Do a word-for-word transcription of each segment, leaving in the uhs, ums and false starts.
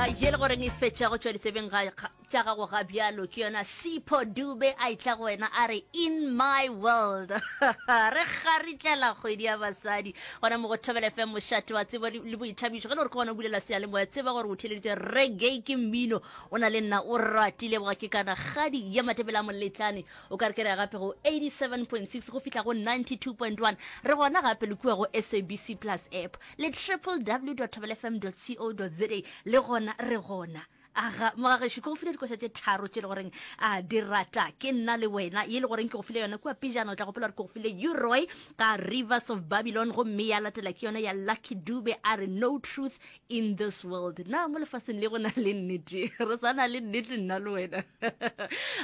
Ye le goreng e fetša go tšwa ditsebeng tša gago ga bjalo ke yona Sipho Dube a etla go wena a re in my world. Re kgaritlela kgwedi ya basadi gona mo go Thobela F M, mošate wa tsebo le boithabišo. Ge le gore ke gona o bulela seyalemoya, tseba gore o theleditše reggae ke mmino o na le nna o ratile boga ke kana kgadi ya Matebele a Moletlane. O ka re ke re ya gape go eighty-seven point six go fihla go ninety-two point one. Re gona gape le kua go S A B C Plus app le www dot thobela f m dot co dot za, le gona re gona. Aga mogagešo, ke go file dikoša tše tharo tše le goreng a di rata ke nna le wena. Ye le goreng ke go file yona kua pejana, o tla gopola gore ke go file U-Roy ka Rivers of Babylon, gomme ya latela ke yona ya Lucky Dube a re No Truth in This World. Na mo lefaseng le go na le nnete? Re sa na le nnete nna le wena.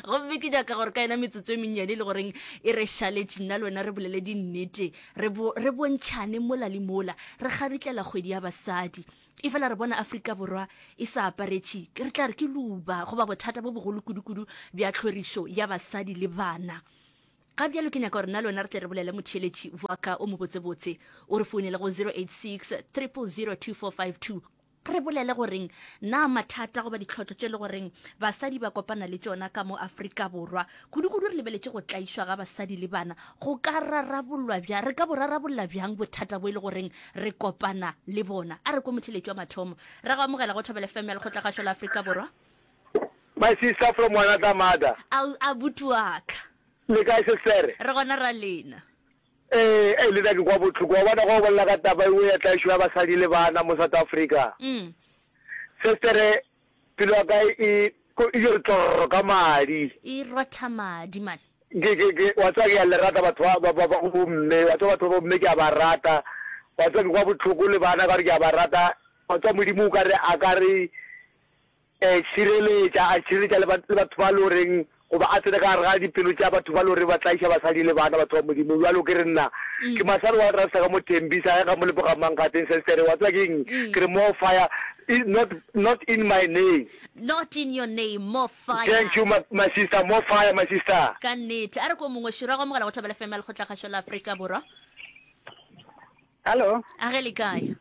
Gomme ke nyaka gore ka yona metsotso e mennyane le goreng e re šaletše nna le wena re bolele dinnete, re bo, re bontšhane mola le mola, re kgaritlela kgwedi ya basadi. E fela re bona Afrika Borwa e sa aparetše, re tla re ke luba goba bothata bo bogolo kudu-kudu bja tlhorišo ya basadi le bana. Ga bjalo ke nyaka gore nna le wena re tle re bolele motheeletši wa ka o mobotsebotse, o re founele go zero eight six, triple zero two four five two, re bolele goreng na mathata goba ditlhotlo tše le goreng basadi ba kopana le tšona ka mo Afrika Borwa, kudu-kudu re lebeletše go tlaišwa ga basadi le bana, go ka rarabollwa bjang, re ka bo rarabolla bjang bothata bo e le goreng re kopana le bona. A re ko motheeletši wa mathomo, ra go amogela go Thobela F M ya Lekgotlakgašo la Afrika Borwa. My sister from another mother. Au, abuti wa ka. Le kae sestere? Re gona ra lena. Ee, ee, le nna ke kwa bohloko. Wa bona, ge o bolela ka taba eo ya tlaišo ya basadi le bana mo South Africa. Mm. Sestere, pelo ya ka e, ko, e re tlorro ka madi. E rotha madi, man. Ke, ke, ke, wa tseba ke a le rata batho ba, ba, ba, ba bomme. Wa tseba batho ba bomme ke a ba rata. Wa tseba ke kwa bohloko le bana ka gore ke a ba rata. Wa tseba Modimo o ka re, a ka re, eh, šireletša, a šireletša le ba, le batho ba le goreng, goba a tsene ka gare ga dipelo tša batho ba le goreng ba tlaiša basadi le bana, batho ba Modimo. Bjalo ke re nna, ke masale wa rasta ka mo Tembisa, ge ga mo leboga mang gateng sestere, wa tseba ke eng? Ke re more fire, i, not, not in my name. Not in your name, more fire. Thank you my, my sister, more fire my sister. Ka nnete. A re ko mongwe, Šura go amogela go Thobela F M ya Lekgotlakgašo la Afrika Borwa. Hallo. A ge le kae?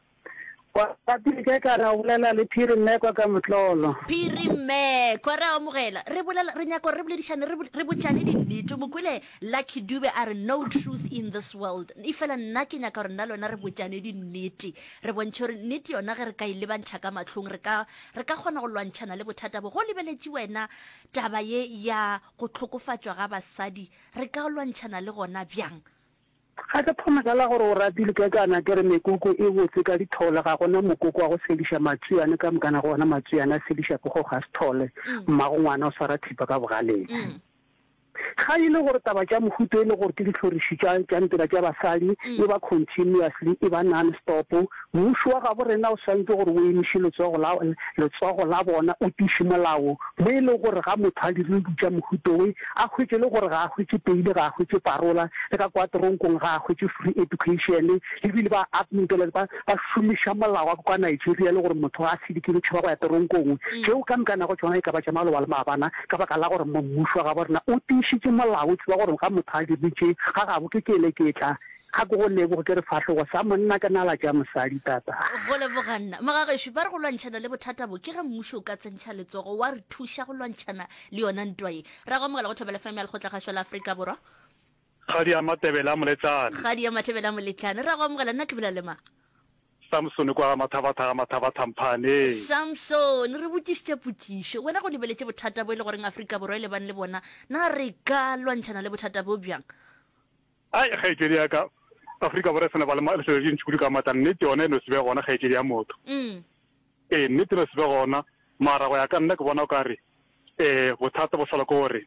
Wa pele ke ka ra bolela le Phiri Mmekwa ka motlolo. Phiri Mmekwa, re a amogela. Re bolela, re nyaka gore re boledišane, re, re botšane dinnete. O mo kwele Lucky Dube a re no truth in this world. Efela nna ke nyaka gore nna le wena re botšane dinnete. Re bontšhe gore nnete yona ge re ka e lebantšha ka mahlong, re ka, re ka kgona go lwantšhana le bothata bo. Go lebeletše wena taba ye ya go hlokofatšwa ga basadi, re ka lwantšhana le gona bjang? Ga ke thome ka la gore o ratile ke kana ke re mekoko e botse ka dithole, ga gona mokoko wa go sediša matswiane ka mokana go ona matswiane a sediša ke go ga sethole, mmago ngwana o swara thipa ka bogaleng. Ga e le gore taba tša mohuta e le gore ke dihloriši tša tša ntela tša basadi e ba continuously e ba non stop, mmušo wa gabo rena o swanetše gore o emiše letsogo la letsogo la bona o tiše molao mo e lego gore ga motho a dirile dilo tša mohuta we a hwetše le gore ga a hwetše peile ga a hwetše parola le ka kwa toronkong ga a hwetše free education ebile ba ba ba šomiša molao wa kwa Nigeria le gore motho ga a sedikile o tšhaba go ya toronkong tšeo ka moka nago tšona e ka ba tša maloba le maabana ka baka la gore mmušo wa gabo rena o tiišitše molao o tseba gore ga motho a dirile tše ga gabo ke keleketla Ga ke go leboge, ke re fahlogo sa monna ke nala tša mosadi, tata. Go leboga nna. Mogagešo, ba re go lwantšhana le bothata bo ke ge mmušo o ka tsentšha letsogo wa re thuša go lwantšhana le yona ntwa ye. Ra go amogela go Thobela F M ya Lekgotlakgašo la Afrika Borwa. Kgadi ya Matebele a Moletlane. Kgadi ya Matebele a Moletlane. Ra go amogela, nna ke bolela le mang? Samsone kwa ga Mathabatha ga Mathabatha Mphaneng. Samsone, re botšišitše potšišo. Wena go lebeletše bothata bo e le goreng Afrika Borwa e lebane le bona, na re ka lwantšhana le bothata bo bjang? Ai, kgaetšedi ya ka, Afrika Borwa e sa na ba le lefelo le dintši kudu ka maatla. Nnete yona e no se be gona, kgaetšedi ya motho. Ee, nnete e no se be gona. Mara go ya ka nna ke bona o ka re um bothata bo hlolwa ke gore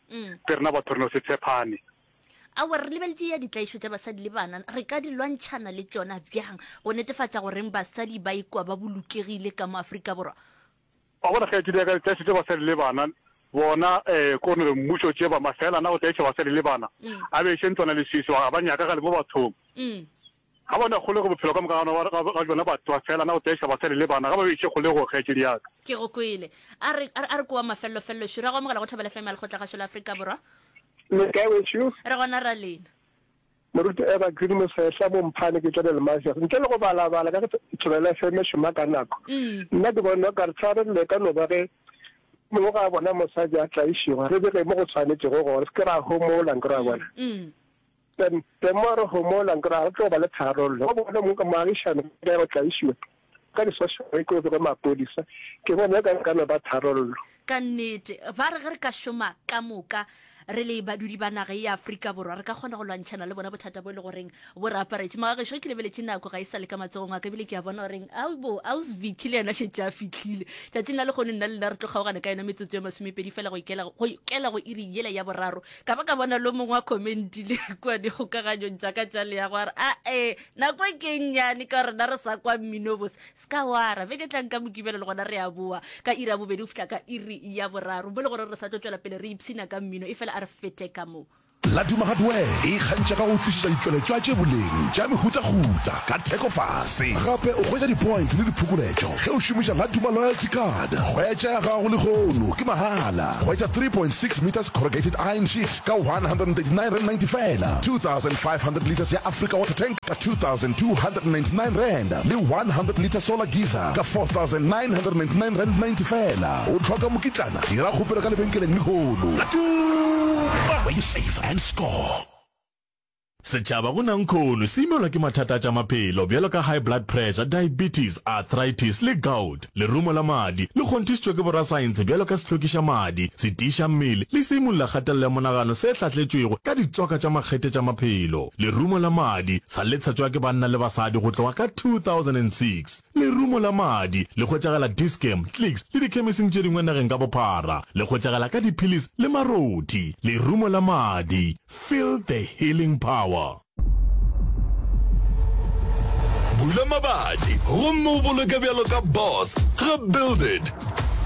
ke rena batho re no se tshepane. Aowa, re lebeletše ya ditlaišo tša basadi le bana. Re ka di lwantšhana le tšona bjang go netefatša goreng basadi ba ikwa ba bolokegile ka mo Afrika Borwa? Wa bona, kgaetšedi ya ka, ditlaišo tša basadi le bana, bona, eh, ko no re mmušo tše ba mafela na go tlaiša basadi le bana, a be iše ntlwana leswiswi, ga ba nyakagale mo bathong. Ga ba na kgolego bophelo ka moka ga ga ga bjona batho ba fela na go tlaiša basadi le bana, ga ba be iše kgolegong, kgaetšedi ya ka. Ke go kwele. A re, a re, a re kwa mafellofello šo. Ra go amogela go Thobela F M ya Lekgotlakgašo la Afrika Borwa. Le kae wešo? Re gona ra lena. Moruti Evergreen Mosehla, Bomphane ke tšwa Delmasius. Ntle le go balabala ka ge Thobela F M e šoma ka nako, nna ke bona o ka re tharollo e ka no ba ge mongwe ga a bona mosadi a tlaišegwa, re bege mo go tshwanetšego gona, se ke ra homola, nkere wa bona. Then the more re homola, nkere ga go tlo ba le tharollo. Go bona mongwe ka moagišane ka ya go tlaišiwa ka di-social worker o bege maphodisa, ke bona e ka re ka no ba tharollo. Ka nnete, ba re ge re ka šoma ka moka re le badudi ba naga ye ya Afrika Borwa, re ka kgona go lwantšhana le bona bothata bo e le goreng bo re aparetše. Magagešo, ge ke lebeletše nako ga e sa le ka matsogong a ka, ebile ke a bona goreng aobo Aus Vicky le yena šetše a fihlile. Tšatšing la lehono nna le lena re tlo kgaogana ka yona metsotso ye masomepedi fela go ikela go ikela go iri yela ya boraro. Ka ba ka bona lo mongwe a commentile kua dikgokaganyong tša ka tša leago a re, Ae, nako e ke e nnyane ka gore rena re sa kwa mmino bose. Se ka wara. Beke e tlang ka Mokibelo le gona re a boa ka iri ya bobedi go fihla ka iri ya boraro. Mo le gore re sa tlo tšwela pele re ipshina ka mmino, efela a re fete ka mo. Laduma Hardware e ikgantšha ka go tlišetša ditšweletšwa tše boleng tša mehutahuta ka theko fase. Gape o hwetša di-points le diphokoletšo ge o šomiša Laduma Loyalty Card. Hwetša ya gago lehono ke mahala. Hwetša three point six metres corrugated iron sheet ka one hundred and thirty nine rand ninety feela, two thousand five hundred litres ya Africa Water Tank ka two thousand two hundred and ninety nine rand le one hundred litre solar geyser ka four thousand nine hundred and ninety nine rand ninety feela. O hloka mokitlana? Dira kgopelo ka lebenkeleng lehono. Laduma, where you save and score. Setšhaba go nankhono se imelwa ke mathata a tša maphelo bjalo ka high blood pressure, diabetes, arthritis le gout. Lerumo la madi le kgonthišitšwe ke borasaense bjalo ka sehlwekiša madi, setiiša mmele le seimolla kgatelelo ya monagano se hlahletšwego ka ditswaka tša makgethe tša maphelo. Lerumo la madi sa le tshetšwa ke banna le basadi go tloga ka two thousand and six Lerumo la madi le hwetšagala Dis-Chem, Clicks le dikhemising tše dingwe nageng ka bophara. Le hwetšagala ka diphilisi le marothi. Lerumo la madi. Feel the healing power. Bula mabati gomme o boloke bjalo ka boss ga Build It.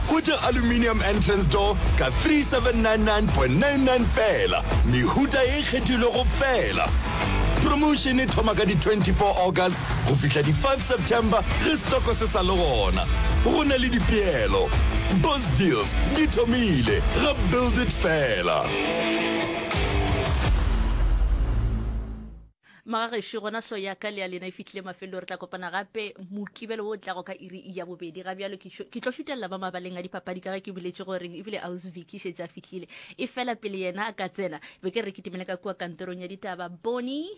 Hwetša aluminium entrance door ka three seven nine nine point nine nine feela, mehuta e kgethilwego feela. Promotion e thoma ka di twenty four August go fihla di five September ge stoko se sa le gona. Go na le dipeelo. Boss deals di thomile ga Build It feela. Magagešo, gona so ya ka le ya lena e fihlile mafelelo. Re tla kopana gape Mokibelo wo o tlago ka iri ya bobedi. Ga bjalo ke ke tlo šutelela ba mabaleng a dipapadi ka ge ke boletše goreng ebile Aus Vicky šetše a fihlile. Efela pele yena a ka tsena, be ke re ke timele ka kua kantorong ya ditaba. Boni!